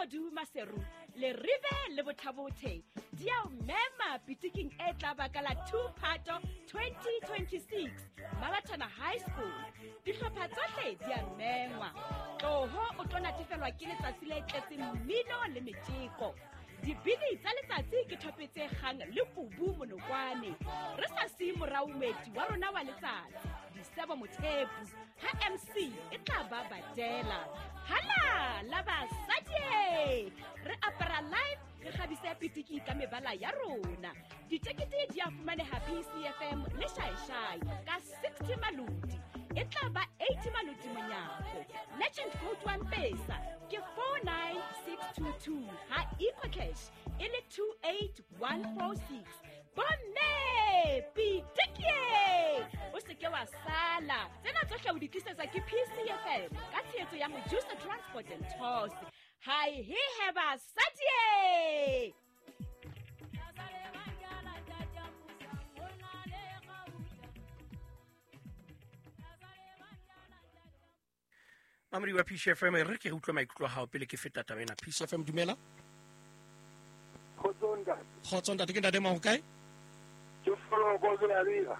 Kgodu Maseru, Leribe le Bothabothe di a o mema pitiking e tla ba ka la 2 Phato 2026 Mabathana High School. Dihlopha tsohle di a mengwa. Tloho o tlo natefelwa ke letsatsi le tletseng mmino le metjeko. Dibini tsa letsatsi ke thope tse kgang le kubu monokwane. Re sa siye morao moeti wa rona wa letsatsi, Disebo Mothepu, ha MC e tla ba badela. Hala la basadi! Re apara live re kgabise pitiki ka mebala ya rona. Ditekete di a fumaneha PCFM le Shaeshai ka 60 maloti. E tla ba 80 maloti monyako. Legend code wa Mpesa ke 49622 ha EcoCash e le 28146. Bomme pitikie! O se ke wa sala. Tsena tsohle o di tlisetswa ke PCFM ka tshehetso ya Mojusa Transport and Tours. Hai he he basadie! Mamodi wa Peace FM re ke re utlwe maikutlo a gago pele ke feta taba ena. Peace FM dumela. Kgotso ntate. Kgotso ntate, ke ntate mang kae? Ke Foloko Belabela.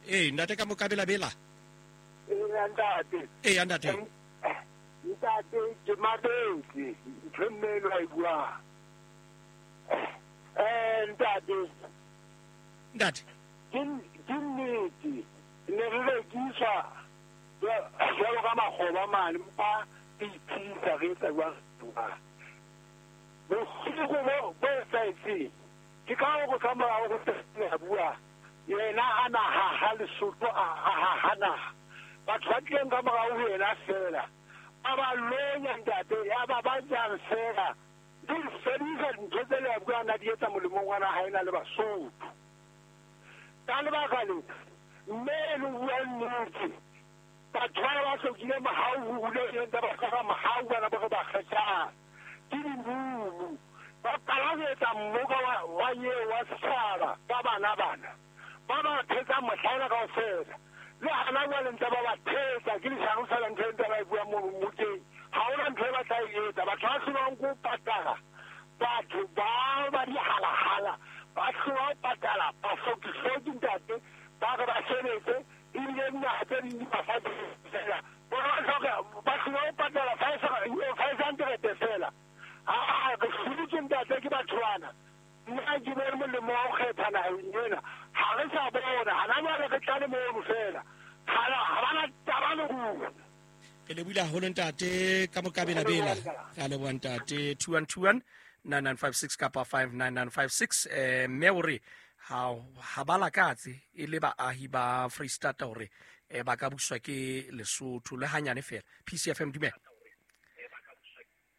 Ee ntate ka mo ka Belabela. Ee ntate. Ee ntate. Ntate ke mabetse ntho e mme eno a e buang. Ntate. Ntate. Ke nnete ne re rekiswa jwalo ka makgoba mane mpa re iphedisa re etsa jwang jwang. Bosigo bo bo etsahetseng ke ka hore ka morao ho se a bua yena a na haha Lesotho a haha naha. Batho ba tlileng ka morao ho yena feela ba ba lonya ntate ya ba ba jang feela di fedisa dintho tse le a buang a di etsa molemong wa naha ena le Basotho. Ka lebaka lena mme e le bua nnete batho bana ba hlokile mohau ho hule ntse ba hloka mohau bana bo re ba kgethang ke dimumu ba qala ho etsa mmoka wa eo wa setjhaba ka bana bana ba ba thetsang mohlaena kaofela le hana jwale ntse ba ba thetsa ke leshano fela ntho e ntse ba e buang mono mmokeng ha hona ntho e ba tla e etsa batho ba hlolwang ke ho patala batho ba ba dihalahala ba hlolwa ho patala bahloki-hloki ntate ba re ba sebetse ebile dinaha tse ding di ba fa fela bona ba hloka ba hlolwa ho patala 500 fela aa re hloditswe ntate ke batho bana nna ke bone molemo wa ho kgetha naheng ena ha re sa bona hana jwale re tlale mono fela ha ba na taba le rona. Re lebohile haholo ntate ka mokabelabela. Re a leboha ntate 2121 9956 kapa 59956. Mme o re ha ba lakatse e le baahi ba Freistata hore ba ka buswa ke Lesotho le hanyane fela. PCFM dumela.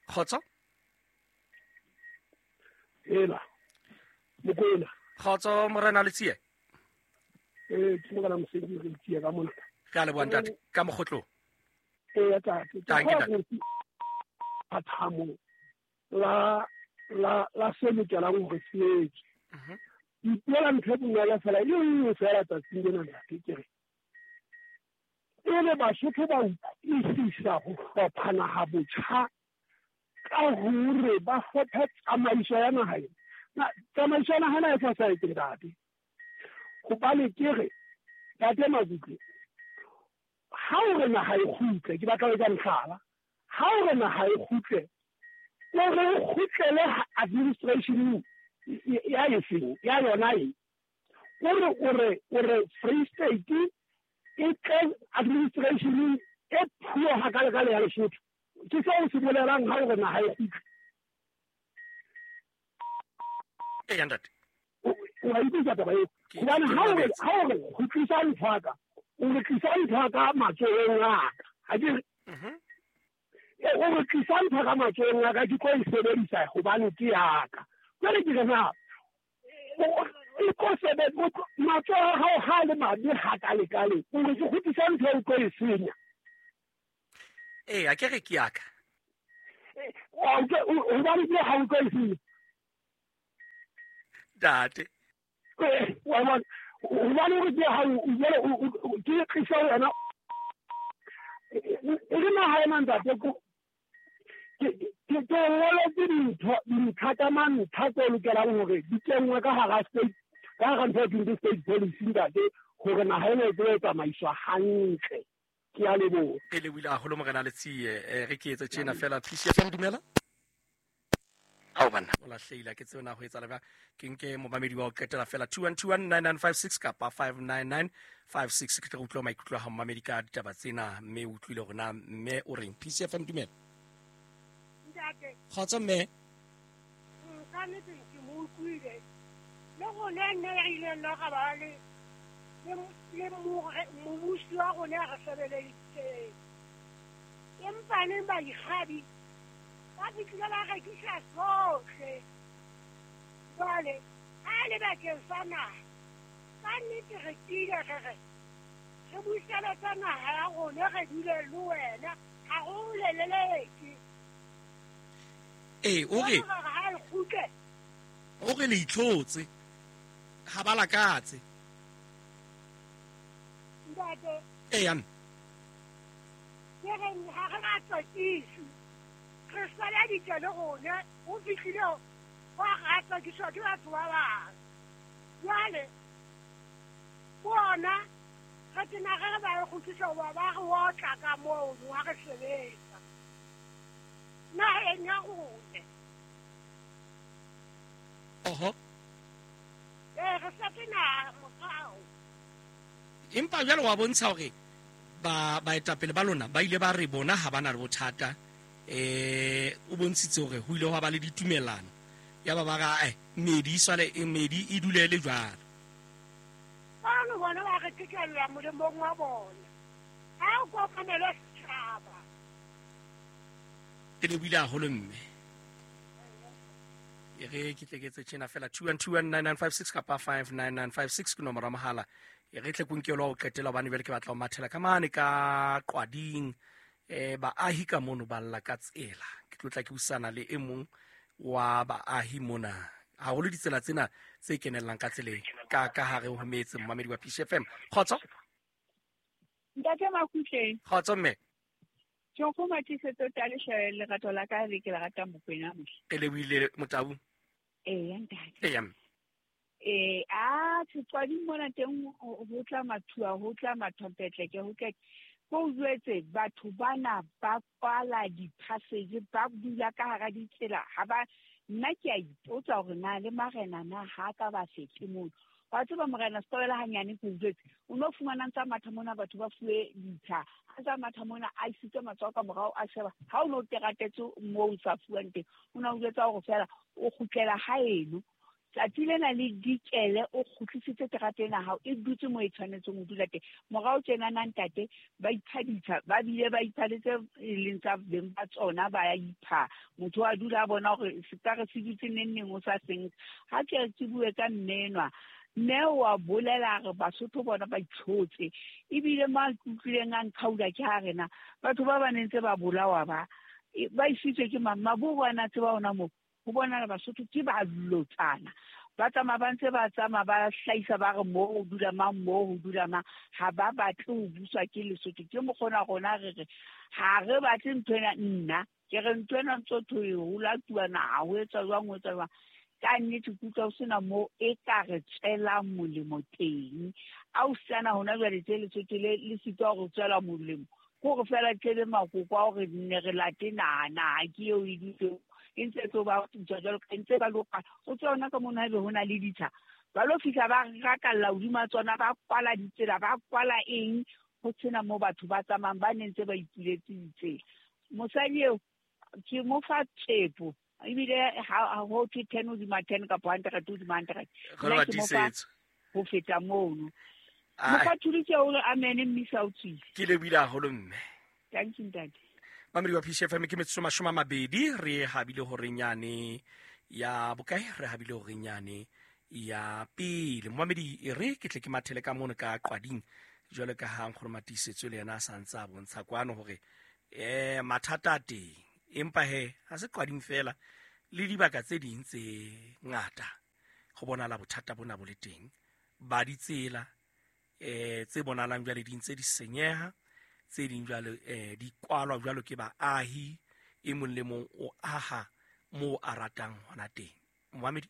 Kgotso. Ela. Mokoena. Kgotso morena Letsie. Ee, ke morena Moseki re Letsie ka mona. Re a leboha ntate ka mokgotlong. Ee, ntate. Tanki ntate. Phathamo la la la se lokelang hore se etswe. Ipuela ntho e bonolo fela e nngwe fela tsatsing lena ntate ke re. Pele Basotho ba utlwisisa ho hlopha naha botjha ka hore ba hlophe tsamaiso ya naha ena. Tsamaiso ya naha ena e fosahetse ntate. Hobane ke re ntate Makutle ha o re naha e kgutle ke batla ho etsa mohlala ha o re naha e kgutle o re o kgutlele administration ya efeng ya yona e o re o re o re Free State e tle administration e phuo hakalekale ya Lesotho ke seo se bolelang ha o re naha e kgutle. Eya ntate. O a utlwisa taba eo hobane ha o re ha o re kgutlisa ntho ya ka o re tlisa ntho ya ka matsohong a ka ha ke re o re tlisa ntho ka matsohong a ka ke tlo e sebedisa hobane ke ya ka jwale ke re na e tlo sebetsa matsoho a hao ha le mabe hakalekale o re ke kgutlisa ntho eo o tlo e senya. Ee, a ke re ke ya ka. Hobane ke ha o tlo e senya. Ntate. Wa bona hobane o re ke ha jwale ke tlisa wena e le naha ena ntate ke Ke ngoletse dintho dintlha tsa mantlha tse lokelang hore di kenngwe ka hara state, ka hara ntho e thweng ke state policy, ntate, hore naha ena e tsebe ho tsamaiswa hantle. Ke a leboha. Re lebohile haholo morena Letsie. Re ke etse tjena fela. PCFM, dumela. Ao banna, o lahlehile, ke tsebe na ho etsahala jwang. Ke nke momamedi wa ho qetela fela, 21219956 kapa 59956, ke tle re utlwe maikutlo a hao momamedi ka ditaba tsena, mme o utlwile hore na mme o reng. PCFM, dumela. Ntate. Kgotso mme. Ka nnete ke mo utlwile. Le rona nne re ileng la ra ba le le mobusi wa rona re sebeleditseng. Empa neng baikgabi ba fihlile ba rekisa sohle. Jwale ha le bakeng sa naha, ka nnete re tiile re re re buseletse naha ya rona, re dule le wena, ha re o leleleke. Ee, o re Jwale re re ha e kgutle. O re le itlhotse, ha ba lakatse. Ntate. Ee, ya mme. Ke re ha re ba tsakise, re sebeditse le rona, ho fihlile ho ra tsakiswa ke batho ba bang. Jwale bona re tena re re ba e kgutlise hoba ba re otla ka mono ha re sebetsa naheng ya rona. Oho. Ee, re setse naha morao. Empa jwale wa bontsha hore ba baetapele ba lona ba ile ba re bona ha ba na le bothata. O bontshitse hore ho ile hwa ba le ditumellano, ya ba ba ra medi e swale, medi e dule le jwalo. Bano bona ba re qhekella molemong wa bona, ha o kopanele setjhaba. Ke lebohile haholo mme. E re ke tle ke etse tjena fela, 21219956 kapa 59956 ke nomoro ya mohala. E re tle kunkelo wa ho qetela, hobane jwale ke batla ho mathela ka mane ka Qwading. Baahi ka mono ba lla ka tsela. Ke tlo tla ke busana le e mong wa baahi mona, haholo ditsela tsena tse kenellang ka tseleng ka hare ho metse. Momamedi wa PCFM, kgotso. Ntate Makutleng. Kgotso mme. Ke go matlisetso talehle lerato la ka le ke le ratang Mokwena mohle. Re lebohile Motau. Ee, ntate. Ee, mme. Ee, a Qwading mona teng ho tla mathua, ho tla mathompetleke, ho tla ko o jwetse batho bana ba kwala di-passage, ba dula ka hara ditsela. Ha ba, nna ke a ipotsa hore na le marena na ha ka ba fihle mono. Wa tseba morena Setobela hanyane ke o jwetse, o no fumana ntsa matha mona batho ba fuwe ditsha, a ntsa matha mona a isitse matsoho ka morao a sheba, ha o no teratetse moo o sa fuwang teng, o na o jwetsa hore fela o kgutlela haeno. Tsatsi lena le dikele o kgutlisitse terata ena hao, e dutse moo e tshwanetseng ho dula teng. Morao tjena na ntate, ba ipha ditsha, ba bile ba ipha le tse e leng tsa beng ba tsona, ba ya ipha. Motho a dula a bona hore se ka re se dutse neng neng o sa seng. Ha ke re ke bue ka mme enwa, mme wa bolela re Basotho bona ba itlhotse. Ebile mo a utlwileng a nkgaula ke ha rena batho ba ba neng tse ba bolawa ba, ba isitswe ke mang? Maburu a na tseba ona moo. Ho bonala Basotho ke ba lotsana. Ba tsamaya ba ntse ba tsamaya ba hlahisa ba re moo ho dula mang, moo ho dula mang. Ha ba batle ho buswa ke Lesotho. Ke mokgona rona re re ha re batle ntho ena, nna ke re ntho ena ntso thwe ho latuwa naha, ho etswa jwang, ho etswa jwang. Ka nnete ke utlwa ho sena moo e ka re tswelang molemo teng. A o sana hona jwale tje Lesotho le sitwa hore tswela molemo. Ke hore fela tlebe makoko a hore nne re late naha, naha ke eo e dutse e ntse tlo ba putswa jwalo ka ntse ba loka. O tswa hona ka mona haebe ho na le ditsha, ba lo fihla ba rakalla hodima tsona, ba kwala ditsela, ba kwala eng, ho sena moo batho ba tsamayang ba neng ntse ba ipuletse ditsela. Mosadi eo ke mo fa tshepo, ebile ha ho thwe 10 hodima 10 kapa 100 hodima 100. Re Nna ke mo fa tiisetso. ho feta mono. Ai. Mokgwa thulitse o re amen mme sa o tswile. Ke lebohile haholo mme. Thank you ntate. Mamedi wa PCFM ke metsotso mashome a mabedi, re habile hore nyane ya bokae, re habile hore nyane ya pele. Momamedi e re ke tle ke mathele ka mono ka Qwading jwalo ka ha Nkgono Matiisetso le yena a sa ntse a bontsha kwano hore mathata a teng, empa he ha se Qwading fela, le dibaka tse ding tse ngata go bonala bothata bona bo le teng ba ditsela tse bonalang jwale di ntse di senyeha, tse ding jwale di kwalwa jwalo ke baahi, E mong le mong o aha moo a ratang hona teng. Moamedi,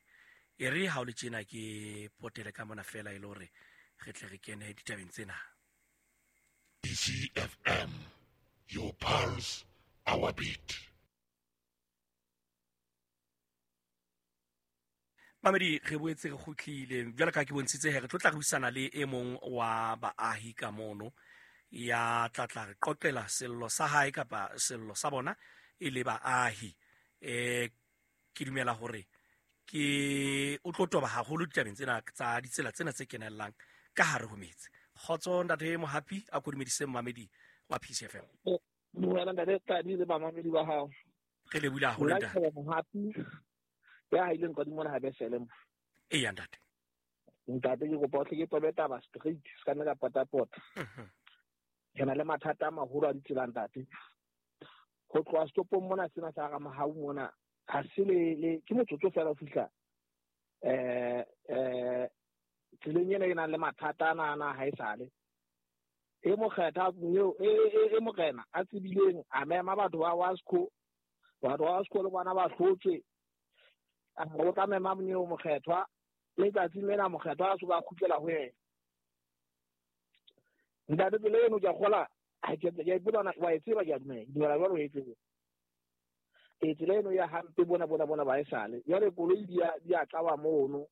e re ha o le tjena ke potele ka mona fela e le hore re tle re kene ditabeng tsena. DCFM, your pulse, our beat. Mamedi, re boetse re kgutlile jwalo ka ke bontshitse he re tlo tla re buisana le e mong wa baahi ka mono ya tla tla re qoqela sello sa hae kapa sello sa bona e le baahi. Ke dumela hore ke o tlo toba haholo ditabeng tsena tsa ditsela tsena tse kenellang ka hare ho metse. Kgotso ntate Mohapi, a ko dumedise mamedi wa PCFM. Dumela ntate Tladi le bamamedi ba hao. Re lebohile haholo ntate Mohapi. Ya haileng kwa dimona ha besele mo. Eya ntate. Ntate ke kopa o tle ke tobe taba straight, se ka nna ka pota-pota. Re na le mathata a maholo a ditsela ntate. Ho tloha setopong mona sena sa Ramahau mona ha se le ke motsotso fela ho fihla tseleng ena e nang le mathata ana ana ha esale. E mokgetha eo e morena a tsebileng a mema batho ba Wasco, batho ba Wasco le bona ba hlotswe. A re o tla mema monyeo mokgethwa letsatsing lena mokgethwa a so ba kgutlela ho yena. Ntate tsela eno ke a kgola, ha ke a ipotsa wa e tseba ke a dumela, ke dumela jwalo o e tseba. E tsela eno ya hampe bona bona bona ba esale. Jwale koloi di a tlaba mono.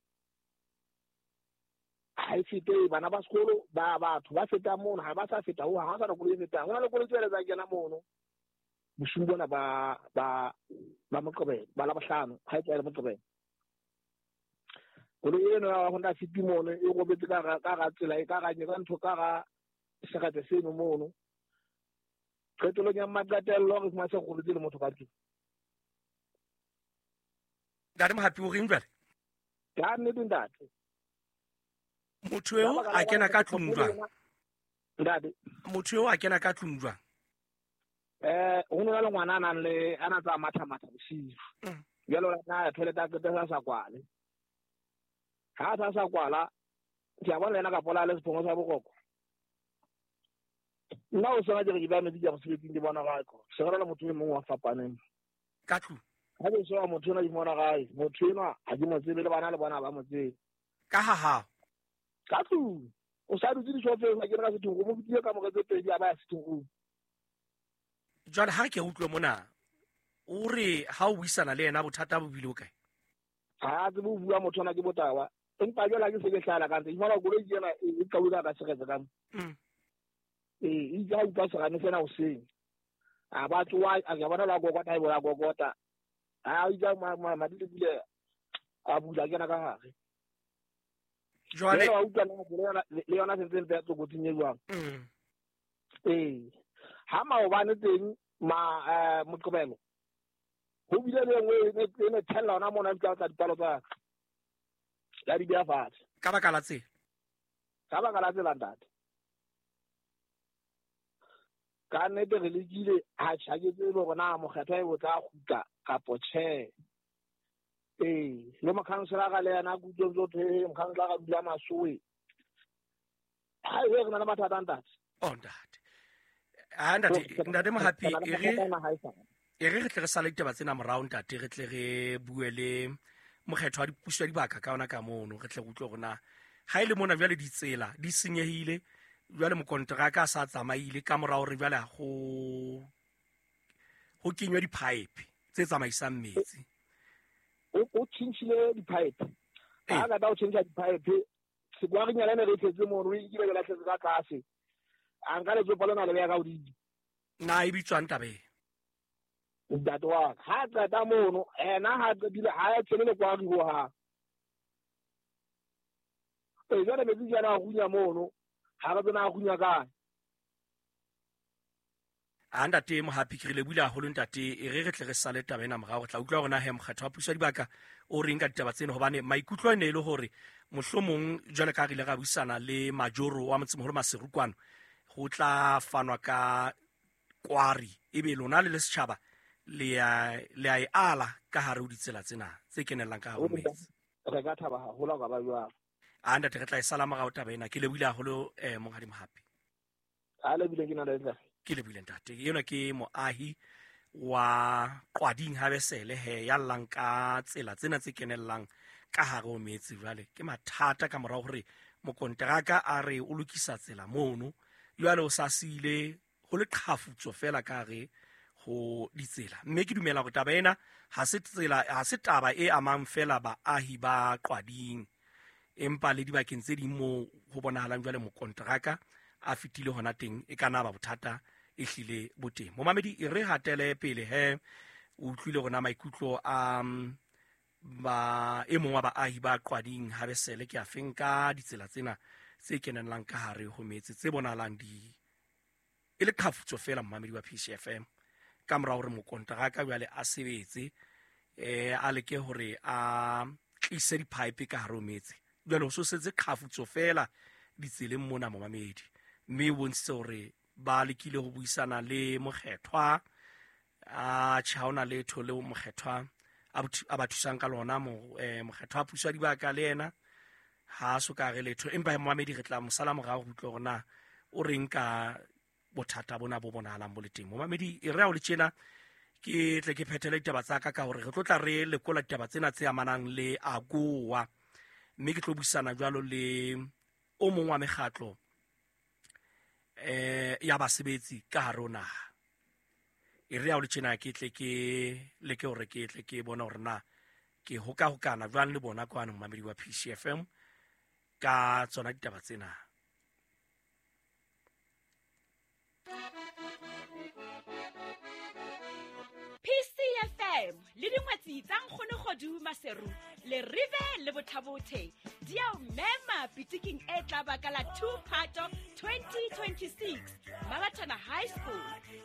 Ha e fete bana ba sekolo ba batho ba feta mono ha ba sa feta ho ha sa koloi e fetang. Ho na le koloi tsele tsa kena mono. Bosiu bona ba ba ba Moqebelo, ba Labohlano, ha e tswa le Moqebelo. Koloi eno ya Honda City mono e robetse ka ga tsela e ka ga ka ntho ka ga seretse seno mono. Qetellong ya maqetello re fumana se robetse le motho ka tlung. Ntate Mohapi o reng jwale? Ka nnete ntate. Motho eo a kena ka tlung jwang? Ntate. Motho eo a kena ka tlung jwang? Ho na le ngwana a nang le a na tsa matha matha bosiu. Jwale o na ya toilet a qeta sa kwale. Ha sa sa kwala, ke a bona yena ka pola le sephongo sa boroko. Nna o sena ke re ke ba metsi ke mosebetsing ke bona gae ko. Se re le motho e mong wa fapaneng. Ka tlung. Ha ke sheba motho ena ke mona gae, motho enwa ha ke mo tsebe le bana le bona ba mo tsebe. Ka ha ha. Ka tlung. O sa dutse dishofeng ha ke re ka sitting room, o fetile ka more tse pedi a ba ya sitting room. Jwale ha ke utlwe mona o re ha o buisana le yena bothata bo bile o kae? Ha tsebe ho bua motho ona ke botawa. Empa jwale ha ke se ke hlala ka ntse, ke fumana koloi ke ena e qawile ka seretse ka mo. E itse ha utlwa serame sena hoseng. A ba tsoha, a ke bona la kokota, e bola kokota. Ha itse madi le bile a bula kena ka hare. Jwale wa utlwa le yona sentse mpe ya tlokotsing e jwang. Ha maobane teng ma Moqebelo ho bile le nngwe e ne thella hona mona e tla dipalo tsa ya di beha fatshe. Ka baka la tsela. Ka baka la tsela ntate. Ka nnete re lekile ha ke tsebe hore na mokgethwa e o tla kgutla kapo tjhe. Le mokhanselara le yena ke utlwe ntse thwe mokhanselara dula Masowe. Ha e re na le mathata ntate. Oh ntate. Ah ntate, ntate Mohapi e re tle re sale ditaba tsena morao ntate, re tle re bue le mokgetho wa dipuso ya dibaka ka ona ka mono, re tle re utlwe hore na ha e le mona jwale ditsela di senyehile, jwale mokonteraka a sa tsamaile ka morao re jwale ho kenywa di-pipe tse tsamaisang metsi. O tjhentjhile di-pipe. Ha ka o tjhentjha di-pipe, sekwarinyana ne re tletse mono, e kile ke lahletse ka tlase. A nka letsopa lena le beha ka hodimo. Na e bitswang taba e? Ntate wa ka, ha qeta mono, ena ha qetile ha a tshele le kwari ho hang. Jwale metsi ke ana a runya mono, ha re tsena a runya kae. A ntate Mohapi, ke re lebohile haholo ntate, e re re tle re sale taba ena morao, re tla utlwa hore na he mokgatho wa puso ya dibaka o reng ka ditaba tsena, hobane maikutlo a ne e le hore mohlomong jwale ka re ile ra buisana le majoro wa motsemoholo Maseru kwano, ho tla fanwa ka kwari ebe lona le le setjhaba le a e ala ka hare ho ditsela tsena tse kenellang ka hare ho metsi. Re ka thaba haholo ka ba jwalo. A ntate re tla e sala morao taba ena. Ke lebohile haholo monghadi Mohapi. A lebohile ke nna le. Ke lebohile ntate. Ena ke moahi Wa Qwading Habesele he ya llang ka tsela tsena tse kenellang ka hare ho metse. Jwale ke mathata ka morao hore mokonteraka a re o lokisa tsela mono, jwale o sa siile ho le qhafutso fela ka hare ho ditsela. Mme ke dumela hore taba ena ha se tsela, ha se taba e amang fela baahi ba Qwading, empa le dibakeng tse ding moo ho bonahalang jwale mokonteraka a fetile hona teng, e ka na ba bothata e hlile bo teng. Momamedi, e re hatele pele he o utlwile rona maikutlo a ba e mong wa baahi ba Qwading Habesele ke a feng ka ditsela tsena tse kenellang ka hare ho metse tse bonahalang di e le qhafutso fela. Momamedi wa PCFM, ka mora hore mokonteraka jwale a sebetse, a leke hore a tlise di-pipe ka hare ho metse, jwale ho so setse qhafutso fela ditseleng mona momamedi. Mme o bontshitse hore ba lekile ho buisana le mokgethwa, a tjhe ha hona letho leo mokgethwa a ba thusang ka lona. Mokgethwa a puso ya dibaka le yena ha a so ka re letho, empa momamedi re tla mo sala morao ho utlwa hore na o reng ka bothata bona bo bonahalang bo le teng. Momamedi, e re ha o le tjena ke tle ke phethele ditaba tsa ka ka hore re tlo tla re lekola ditaba tsena tse amanang le AGOA, mme ke tlo buisana jwalo le o mong wa mekgatlo ya basebetsi ka hare ho naha. E re ha o le tjena ke tle ke leke hore ke tle ke bone hore na ke hokahokana jwang le bona kwano momamedi wa PCFM ka tsona ditaba tsena. PCFM le dingwetsi tsa Nkgono Kgodu Maseru le Rive le Bothabothe di a o mema pitiking e tla ba ka la 2 Phato 2026 Mabathana High School.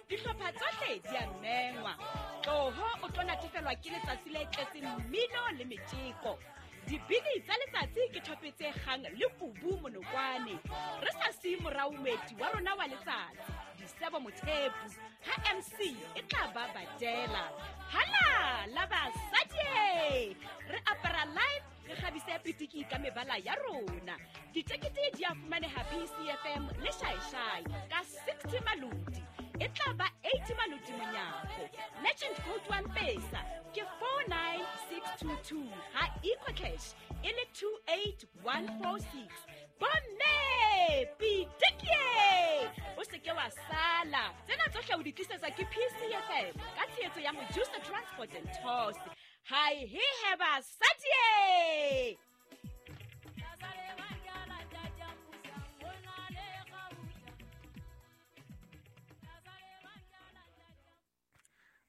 Dihlopha tsohle di a mengwa. Tloho o tlo natefelwa ke letsatsi le tletseng mmino le metjeko. Dibini tsa letsatsi ke thope tse kgang le kubu monokwane. Re sa siye morao moeti wa rona wa letsatsi, Disebo Mothepu, ha MC e tla ba badela. Hala la basadi, re apara live, re kgabise pitiki ka mebala ya rona. Ditekete di a fumaneha PCFM le Shaishai ka 60 maloti. E tla ba 80 maloti monyako. Legend code wa Mpesa ke 49622, ha EcoCash e le 28146. Bomme pitikie, o se ke wa sala. Tsena tsohle o di tlisetsa ke PCFM ka tshehetso ya Mojusa Transport and Tours. Hai he he basadi.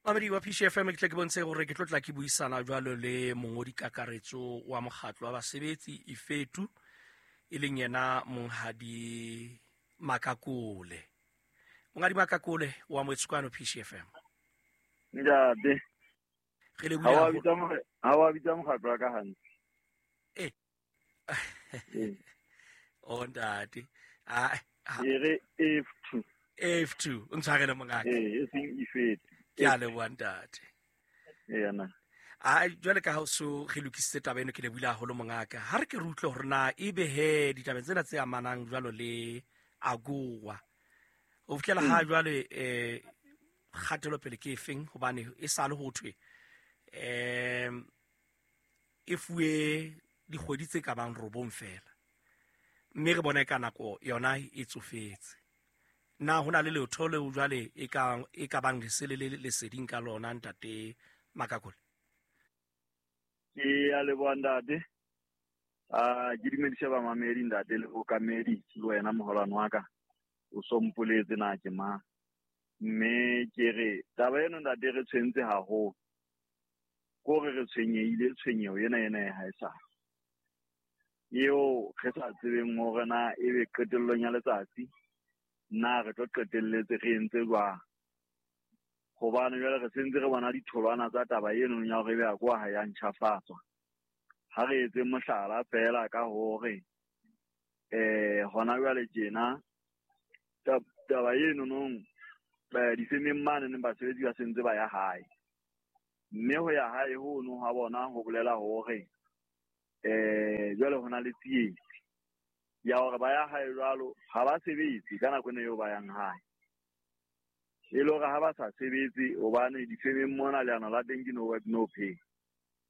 Mamedi wa PCFM, ke tle ke bontshe hore ke tlo tla ke buisana jwalo le mongodi kakaretso wa mokgatlo wa basebetsi Ifetu, e leng yena Monghadi Makakole. Monghadi Makakole wa Moetskwano PCFM. Ntate, re le ha wa bitsa mokgatlo wa ka hantle. O ntate. E re F2. F2, o ntshwarele mongaka. E seng Ifetu. Ke a leboha ntate. Yena. A jwale ka ha o so re lokisitse taba eno, ke lebohile haholo mongaka. Ha re ke re utlwe hore na ebe he ditabeng tsena tse amanang jwalo le AGOA, ho fihlela ha jwale kgatelopele ke efeng, hobane e sale ho thwe e fuwe dikgwedi tse ka bang 9 fela, mme re bona e ka nako yona e tsofetse. Na ho na le letho leo jwale e ka bang lesele le leseding ka lona ntate Makakole? Ke a leboha ntate. Ke dumedise bamamedi ntate le okamedi le wena moholwane wa ka. O so mpoletse na ke mang. Mme ke re taba eno ntate re tshwentse haholo. Kore re tshwenyehile, tshwenyeho ena ena ha e sa. Eo re sa tsebeng hore na ebe qetellong ya letsatsi na re tlo qetelletse re entse jwang. Hobane jwale re sentse re bona ditholwana tsa taba eno ya hore ebe AGOA ha ya ntjhafatswa. Ha re etse mohlala fela ka hore hona jwale tjena taba eno nong difemeng mane neng basebetsi ba sentse ba ya hae. Mme ho ya hae hono ha bona ho bolela hore jwale hona le tsietsi ya hore ba ya hae jwalo ha ba sebetse ka nako eno eo ba yang hae. E le hore ha ba sa sebetse hobane difemeng mona leano la teng ke no work no pay.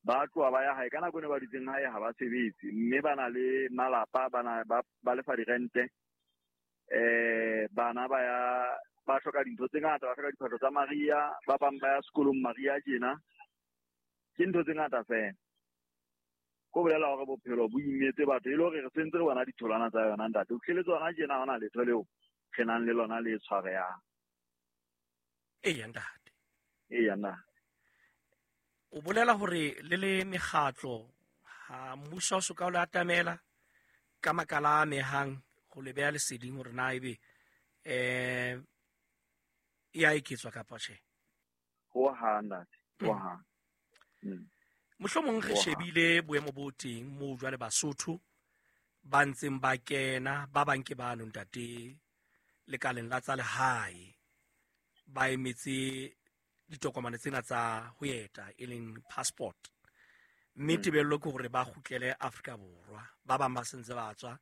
Ba tloha ba ya hae ka nako ne ba dutseng hae ha ba sebetse, mme ba na le malapa, ba na ba lefa dirente, bana ba ya ba hloka dintho tse ngata, ba hloka diphahlo tsa mariha, ba bang ba ya sekolong mariha tjena. Ke ntho tse ngata fela. Ko bolela hore bophelo bo imetse batho, e le hore re sentse re bona ditholwana tsa yona ntate. O fihlele tsona tjena ha hona letho leo re nang le lona le tshwarehang. Eya ntate. Eya ntate. O bolela hore le le mekgatlo ha mmuso o soka o le atamela ka makala a amehang go le beha leseding hore na ebe e a eketswa kapa tjhe? Ho hang ntate, ho hang. Mohlomong re shebile boemo bo teng moo jwale Basotho ba ntseng ba kena, ba bang ke bano ntate lekaleng la tsa lehae, ba emetse ditokomane tsena tsa ho eta e leng passport, mme tebello ke hore ba kgutlele Afrika Borwa. Ba bang ba sentse ba tswa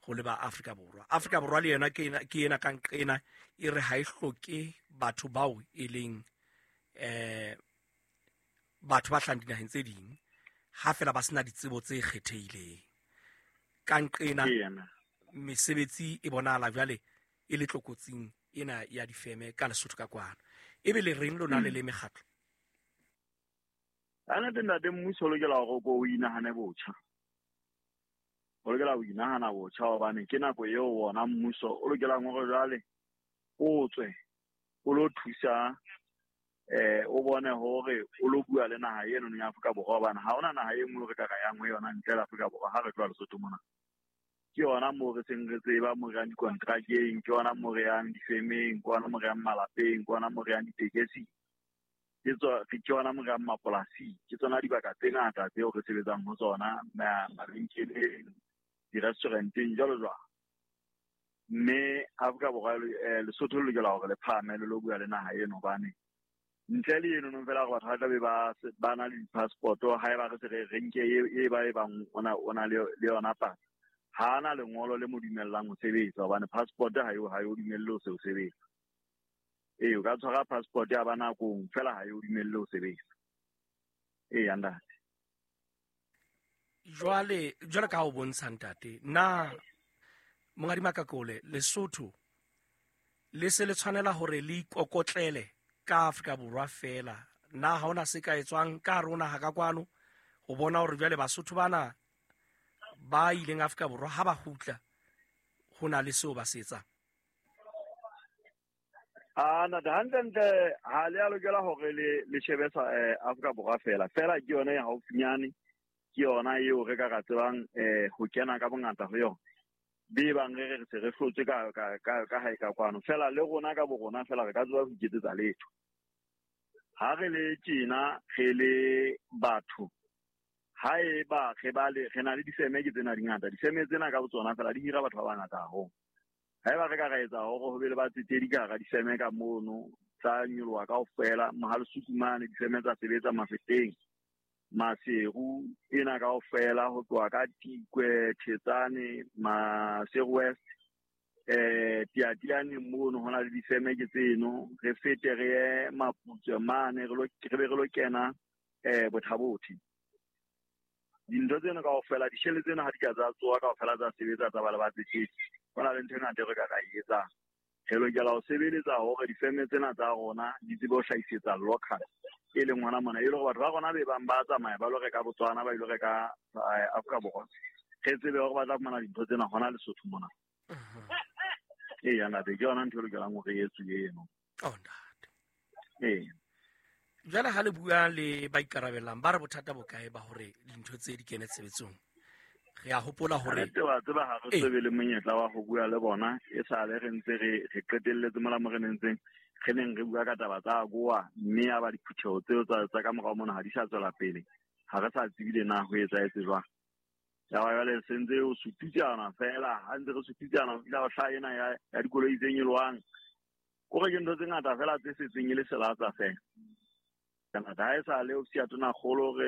ho leba Afrika Borwa. Afrika Borwa le yona ke ena ka nqena e re ha e hloke batho bao e leng batho ba hlahang dinaheng tse ding, ha fela ba sena ditsebo tse kgethehileng. Ka nqena mesebetsi e bonahala jwale e le tlokotsing ena ya difeme ka Lesotho ka kwana. Ebe le reng lona le le mekgatlo? Kannete ntate, mmuso o lokela hore o ko o inahane botjha. O lokela ho inahana botjha hobane ke nako eo wona mmuso o lokelang hore jwale o tswe o lo thusa, o bone hore o lo bua le naha eno ya Afrika Borwa, hobane ha hona naha e nngwe re ka ra yang ho yona ntle le Afrika Borwa ha re tloha Lesotho mona. Ke yona moo re seng re tseba moo re yang dikontrakeng, ke yona moo re yang difemeng, ke yona moo re yang malapeng, ke yona moo re yang ditekesing, ke yona moo re yang mapolasing. Ke tsona dibaka tse ngata tseo re sebetsang ho tsona, mabenkeleng, di-restauranteng, jwalo jwalo. Mme Afrika Borwa Lesotho le lokela hore le phahame le lo bua le naha eno, hobane ntle le eno fela hore batho ba tla be ba na le di-passport-o, haeba re se re nke e ba e bang o na le yona pasa, ha ana lengolo le mo dumellang ho sebetsa, hobane passport ha e o dumelle ho se o sebetsa. Ee, o ka tshwara passport ya ba nakong fela ha e o dumelle ho sebetsa. Ee, ntate. Jwale ka ha o bontsha ntate, na Monghadi Makakole, Lesotho le se le tshwanela hore le ikokotlele ka Afrika Borwa fela? Na ha hona se ka etswang ka hare ho naha ka kwano ho bona hore jwale Basotho bana ba ileng Afrika Borwa ha ba kgutla ho na le seo ba se etsang? Ntate, hantlentle ha le a lokela hore le shebe sa Afrika Borwa fela. Fela ke yona e haufinyane, ke yona eo re ka ra tsebang ho kena ka bongata ho yona. Be bang re re se re hlotswe ka hae ka kwano. Fela le rona ka borona fela re ka tseba ho iketsetsa letho. Ha re le tjena re le batho, haeba re ba le re na le difeme ke tsena di ngata, difeme tsena ka botsona fela di hira batho ba bangata haholo. Haeba re ka ra etsa hore ho be le batsetedi ka hara difeme ka mono, tsa nyoloha kaofela, Mohalesuku mane difeme tsa sebetsa Mafeteng, Maseru ena kaofela ho tloha ka Tikwe, Thetsane, Maseru West, Tiatiane mono ho na le difeme ke tseno, re fete re ye Maputswe mane, re be re lo kena Bothabothe. Dintho tseno kaofela, dishele tseno ha di ka tsa tsoha kaofela tsa sebetsa tsa ba le batsetedi, ho na le ntho e ngata e re ka ra e etsang. Re lokela ho sebeletsa hore difeme tsena tsa rona di tsebe ho hlahisetsa local, e leng hona mona, e le hore batho ba rona be bang ba tsamaya ba lo reka Botswana, ba ilo reka Afrika Borwa, re tsebe hore ba tla fumana dintho tsena hona Lesotho mona. Ee, ntate, ke yona ntho e lokelang hore e etsuwe eno. Oh, ntate. Ee. Jwale ha le bua le ba ikarabellang, ba re bothata bo kae ba hore dintho tse di kene tshebetsong? Re a hopola hore Re tseba tseba ha re tsebe le monyetla wa ho bua le bona, e sale re ntse re qetelletse mola mo re nentseng re neng re bua ka taba tsa AGOA, mme ya ba diphutheho tseo tsa ka morao mona ha di sa tswela pele, ha re sa tsebile na ho etsahetse jwang. Ya ba jwale se ntse o sututsana fela, ha ntse re sututsana ho fihla ho hlaha ena ya dikoloi tse nyolohang. Kore ke ntho tse ngata fela tse setseng e le selatsa fela. Kana ha e sa le ofisi ya Tonakgolo re